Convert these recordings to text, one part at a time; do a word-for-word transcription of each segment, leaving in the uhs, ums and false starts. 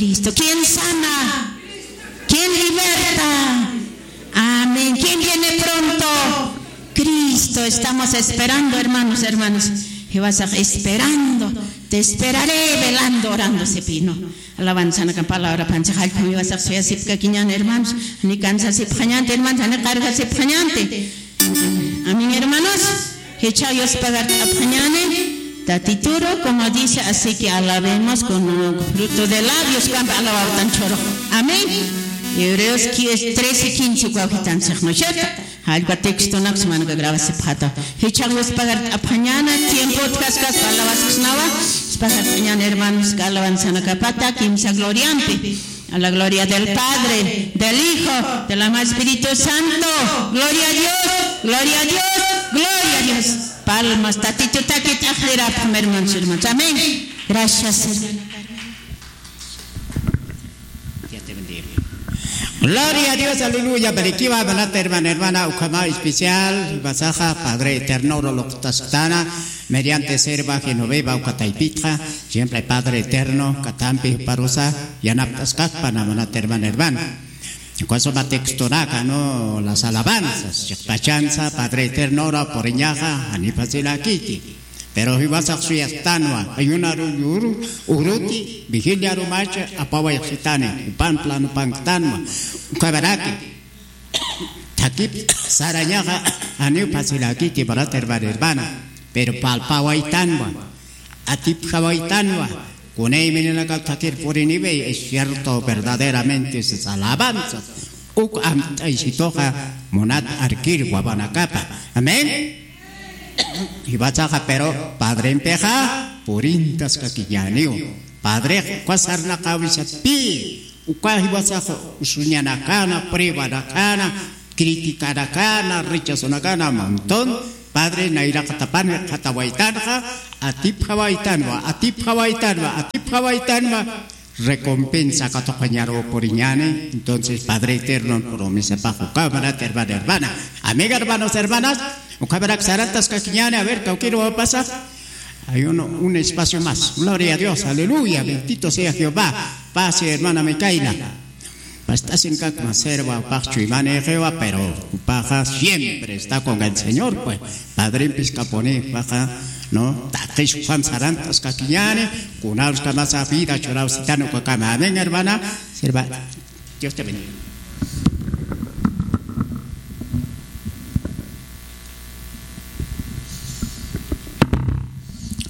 Cristo. ¿Quién sana? ¿Quién liberta? Amén. ¿Quién viene pronto? Cristo. Estamos esperando, hermanos, hermanos. Jiwasax esperando. Te esperaré velando, orando, sipï, ¿no? Alabanzanaka palabra pancha jallp'am jiwasax suyasipkakiñän, hermanos. Ni cansasipxañänti, hermanos, ni cargasipxañänti. Amén, hermanos. Jichhax yuspagart'apxañäni Tatituru, como dice, así que alabemos con un fruto de labios, kampa alabawtan chhuru. Amén. Hebreos trece quince, ukaw jitan six, ¿no es cierto? Jallpa textonak sumanakas grabasipxäta. Jichhax yuspagart'apxañäni, tiempo utjaskaspa alabasksnawa, yuspagart'añäni, hermanos, alabanzanakapata kimsa gloriampi. A la gloria del Padre, del Hijo, del amado Espíritu Santo. Gloria a Dios, gloria a Dios, gloria a Dios. Palmas, Tatitutakit ajlirapxam, hermanos, hermanos. Amén. Gracias, hermano. Dios te bendiga. Gloria a Dios, aleluya. Barikiwa, manat hermana, hermana, ukhama especial, jiwasaxa, Padre Eterno, luqtasktana, mediante serva Genoveva, uka taypitxa, siempre Padre Eterno, katampi parusa, yanapt'askakpana, manat hermana, hermana. Uka suma textonaka, ¿no? Las alabanzas, chiqpachansa, Padre Eterno, ora puriñaxa, janiw facilakiki. Pero jiwasax suyastänwa, ayunaru yuru, uruti, vigilia arumacha, apawayxsitani, jupan planupanktanwa, ukamaraki. Thakip sarañaxa, janiw facilakiki, manat hermana, hermana. Pero palpawaytanwa, atipjawaytanwa, kunay mininakap thakir puriniwi, es cierto, verdaderamente, sas alabanzas, uk amt'aysituxa, munat arkir wawanakapa. Amén. Jiwasaxa, pero Padrempixa purintaskakiñäniw. Padrex uka sarnaqäwisatpï, uka jiwasax usuñanakana, pruebanakana, criticanakana, rechazonakana, montón. Padre nayraqatapan jikxatawaytanxa, atipjawaytanwa, atipjawaytanwa, atipjawaytanwa. Recompensa katuqañaru puriñäni. Entonces, Padre Eterno, promesapax ukaw, manat hermana, hermana. Amiga, hermanos, hermanas, ukamarak sarantaskakiñäni, a ver, kawkïr wawapasax. Hay uno, un espacio más. Gloria a Dios, aleluya, bendito sea Jehová. Pase, hermana Micaela. Past'asinkakma, serva, jupax chuymanïxiwa, pero jupaxa siempre está con el Señor, pues. Padrempis kapuni, jupaxa, ¿no? Taqis jupam sarantaskakiñäni, kunarus kamasa vida churawsitan ukakama. Amén, hermana. Serva, Dios te bendiga.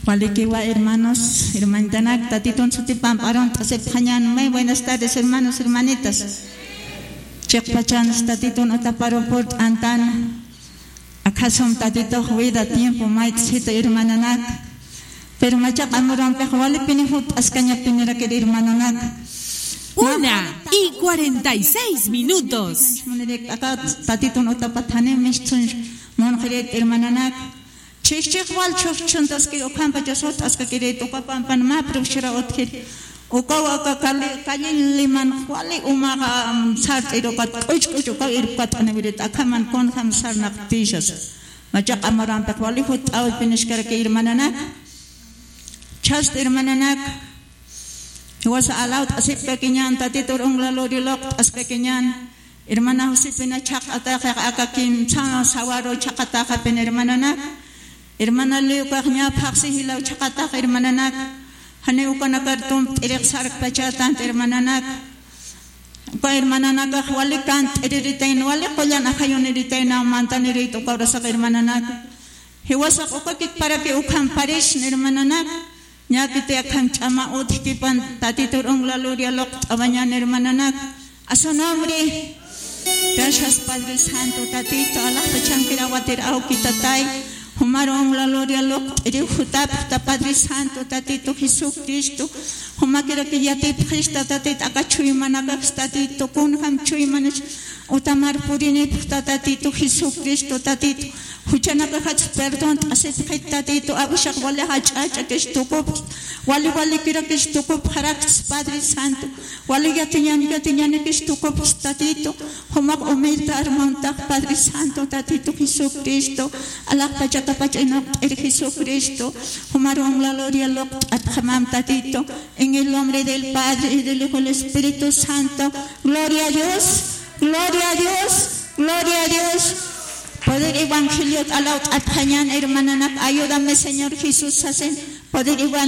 Walikiwa, hermanos, hermanitanak, Tatitun sutipan p'arunt'asipxañän. Muy buenas tardes, hermanos, hermanitas. Chiqpachansa Tatitun utaparu purt'antan. Akhasum Tatitux vida, tiempo mayt'sita, hermananak. Pero machaqa amurampix walipini jutt'askañapinirakir, hermananak. Una y cuarenta y seis minutos. Aka Tatitun utapat janiw mistsuñ munxirit, hermananak. Chhix chhix wal chhux chhuntaskir ukhampachas jutt'askakirït, uka pampan mä profesora utjir. Ukaw aka Cali, Cali liman wali umaxa, mm, sart'ir ukat k'uch k'uch ukaw irpkat'aniwirit, akhaman kunjam sarnaqtïsas. Machaqa amurampix wali jutt'awipiniskarakir, hermananak. Chhast, hermananak. Jiwasa alawt'asipkakiñän, Tatitur unglä luri luqt'askakiñän. Hermana Josefina chhaqataxix aka kimsa sawaru chhaqataxapin, hermananak. Hermana Leukax ñä phaxsi jilaw chhaqatax, hermananak. Janiw ukanakar tumpt'irix sarkpachätanti, hermananak. Uka hermananakax wali kant'iriritayna, wali qullan ajayuniritayna mantanirït uka urasax, hermananak. Jiwasax ukakiparakiw ukhamparisna, hermananak. Ñäkiti akham ch'ama utjkipan Tatitur unglä luri luqt'awañän, hermananak. A su nombre. Gracias, Padre Santo, Tatito, alaxpachankir awatir awki Tatay. Jumaru unglä luri luqt'iriw jutapxta, Padre Santo, Tatito Jesucristo. Jumakiraki yatipxista, Tatito, aka chuymanakax, Tatito, kunjam chuymanas Utamar purinipxta Tatitu Jesucristo, Tatitu. Juchanakaxats perdón t'asitxit Tatitu, awishax wali jach'ach'akis tukupxta, wali walikirakis tukupxarakis Padre Santo, wali yatiñan yatiñanikis tukupxis Tatitu, jumax humilde armawntax Padre Santo, Tatitu Jesucristo, alaxpachakapach inaqt'ir Jesucristo, jumaruwan la gloria luqt'atxamam Tatitu, en el nombre del Padre y del Hijo y del Espíritu Santo, gloria a Dios. Gloria a Dios, gloria a Dios. Poder evangelio t'alaw t'atxañan hermananak, ayúdame Señor Jesús sasen. Poder evangelio